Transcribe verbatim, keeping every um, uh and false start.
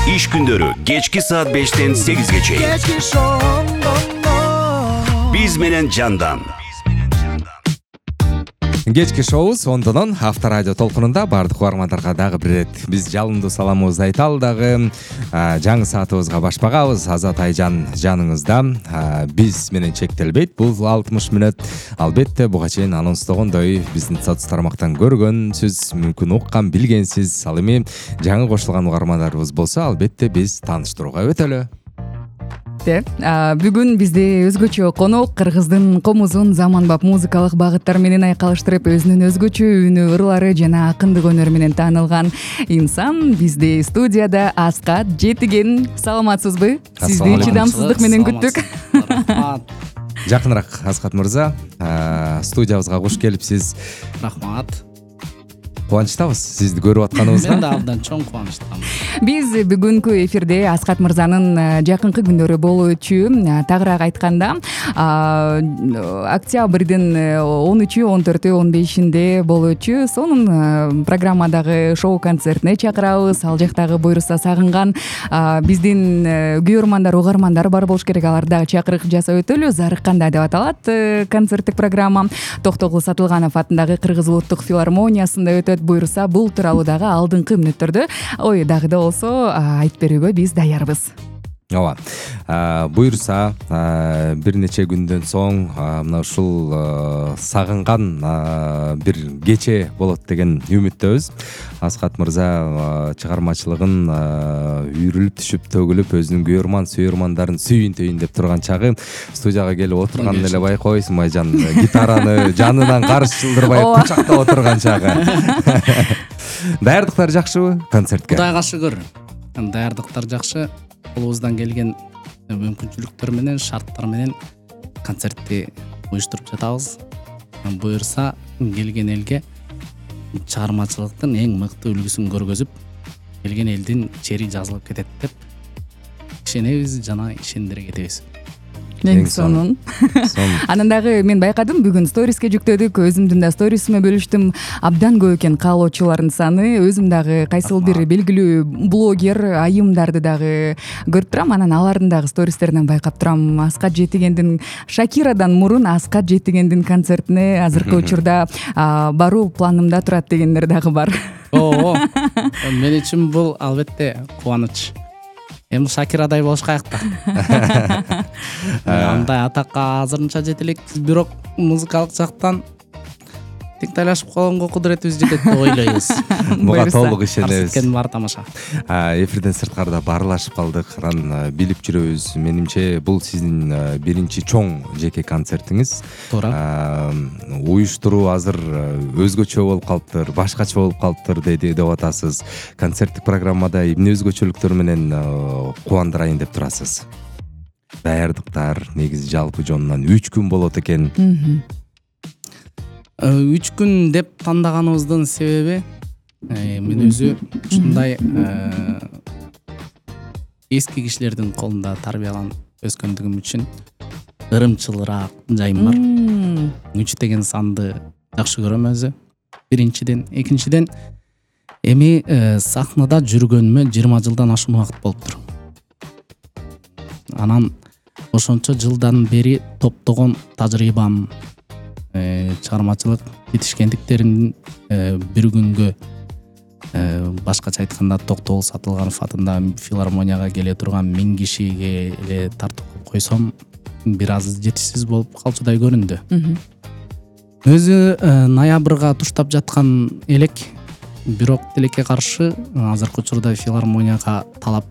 Иш күндөрү кечки саат бештен сегизге чейин. Кечки шоу. Биз менен жандан. Кечки шоу сондонон Авторадио толкунунда бардык угармандарга дагы бир ирет биз жалындуу саламыбызды айталы дагы. Жаңы саатыбызга башпагабыз. Азат Айжан жаныңызда. Биз менен чектелбейт бул алтымыш мүнөт. Албетте буга чейин анонстогондой биздин соц тармактан көргөнсүз, мүмкүн уккан, билгенсиз. Ал эми жаңы кошулган угармандарыбыз болсо, албетте биз тааныштырууга өтөлү. Бүгүн бизде өзгөчө конок кыргыздын комузун заманбап музыкалык багыттар менен айкалыштырып, өзүнүн өзгөчө үнү, ырлары жана акындык өнөрү менен таанылган инсан бизде студияда. Аскат Жетиген. Саламатсызбы? Сизди чыдамсыздык менен күттүк. Рахмат. Жакыныраак Аскат мырза, студиябызга куш келипсиз. Рахмат. Кубанычтабыз сизди көрүп атканыбызга. Мен да абдан чоң кубанычтамын. Биз бүгүнкү эфирде Аскат мырзанын жакынкы күндөрү болуучу, тагыраак айтканда октябрдын он үчү, он төртү, он бешинде болуучу сонун программадагы шоу концертине чакырабыз. Ал жактагы буйруса сагынган биздин күйөрмандар, угармандар бар болуш керек. Аларды дагы чакырык жасап өтөлү. Зарыкканда деп аталат концерттик программа. Токтогул Сатылганов атындагы Кыргыз улуттук филармониясында өтөт. Буйруса бул тууралуу дагы алдыңкы мүнөттөрдө ой дагы да болсо айтып берүүгө биз даярбыз. Ооба. Буйруса бир нече күндөн соң мына ушул сагынган бир кече болот деген үмүттөбүз. Аскат мырза чыгармачылыгын үйрүлүп түшүп төгүлүп өзүнүн күйөрман сүйөрмандарын сүйүн түйүн деп турган чагы студияга келип отурган эле байкойсуң Айжан, гитараны жанынан каршы чылдырбай кучактап отурган чагы. Даярдыктар жакшыбы концертке? Кудайга шүгүр. Даярдыктар жакшы. Колубуздан келген мүмкүнчүлүктөр менен, шарттар менен концертти уюштуруп жатабыз. Буйрса келген элге чыгармачылыктын эң мыкты үлгүсүн көргөзүп, келген элдин чери жазылып кетет деп ишенебиз жана ишендире кетебиз. Эң сонун. Анан дагы мен байкадым, бүгүн сториске жүктөдүк, өзүмдүн да сторисиме бөлүштүм. Абдан көп экен каалоочулардын саны. Өзүм дагы кайсыл бир белгилүү блогер айымдарды дагы көрүп турам. Анан алардын дагы стористеринен байкап турам. Аскат Жетигендин Шакирадан мурун Аскат Жетигендин концертине азыркы учурда баруу планымда турат дегендер дагы бар. Оо. Мен үчүн бул албетте кубаныч. Эми Шакирадай болушкайык да. Андай атакка азырынча жете элекпиз, бирок музыкалык жактан тең тайлашып калганга кудуретибиз жетет деп ойлойбуз. Буга толук ишенебиз. Кеткен бар тамаша. Эфирден сырткарда баарлашып калдык, анан билип жүрөбүз. Менимче бул сиздин биринчи чоң жеке концертиңиз. Туура. Уюштуруу азыр өзгөчө болуп калыптыр, башкача болуп калыптыр деди деп атасыз. Концерттик программада эмне өзгөчөлүктөр менен кубандырайын деп турасыз? Даярдыктар негизи жалпы жонунан үч күн болот экен. Үч күн деп тандаганыбыздын себеби мен өзү ушундай эски кишилердин колунда тарбияланып өскөндүгүм үчүн ырымчылыраак жайым бар. Үч деген санды жакшы көрөм өзү. Биринчиден, экинчиден эми сахнада жүргөнүмө жыйырма жылдан ашуун убакыт болуптур. Анан ошончо жылдан бери топтогон тажрыйбам, чыгармачылык жетишкендиктеримдин бир күнгө, башкача айтканда Токтогул Сатылганов атында филармонияга келе турган миң кишиге эле тартып койсом, бир аз жетишсиз болуп калчудай көрүндү. Өзү ноябрга туштап жаткан элек, бирок тилекке каршы азыркы учурда филармонияга талап